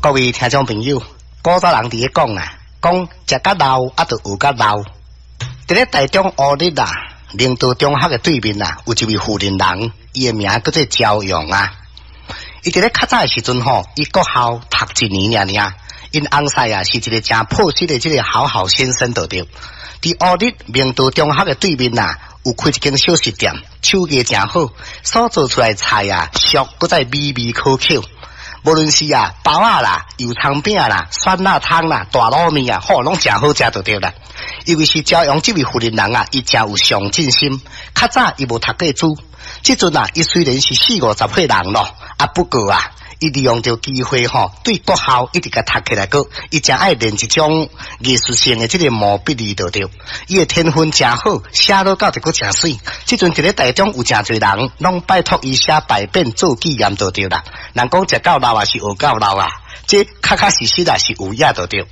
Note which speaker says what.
Speaker 1: 各位聽眾朋友，古早人佇咧講啊，講食甲老啊，著學甲老。佇咧台中烏日啊，明道中學的對面啊，有一位富人人，伊的名叫做焦勇啊。伊佇咧較早的時陣吼，伊國校讀一年爾爾，𪜶翁婿啊是一個誠樸實的這個好好先生就對。佇烏日明道中學的對面啊，有開一間小食店，手藝誠好，所做出來菜啊，俗閣再美味可口。無論是啊包仔啦、油蔥餅啦、酸辣湯啦、大滷麵啊，吼，攏誠好食就對啦。因為是朝陽這位婦人人啊，伊誠有上進心。較早伊無讀過書，這陣啊，伊雖然是四五十歲人咯，啊不過啊，伊利用著機會吼，對國校一直共讀起來閣，伊誠愛練一種藝術性的這個毛筆字就對。伊的天分誠好，寫落到一閣誠媠。這陣佇咧台中有誠濟人，攏拜託伊寫牌匾做紀念就對啦。人講食到老也是學到老啊，這確確實實啊是有影就對。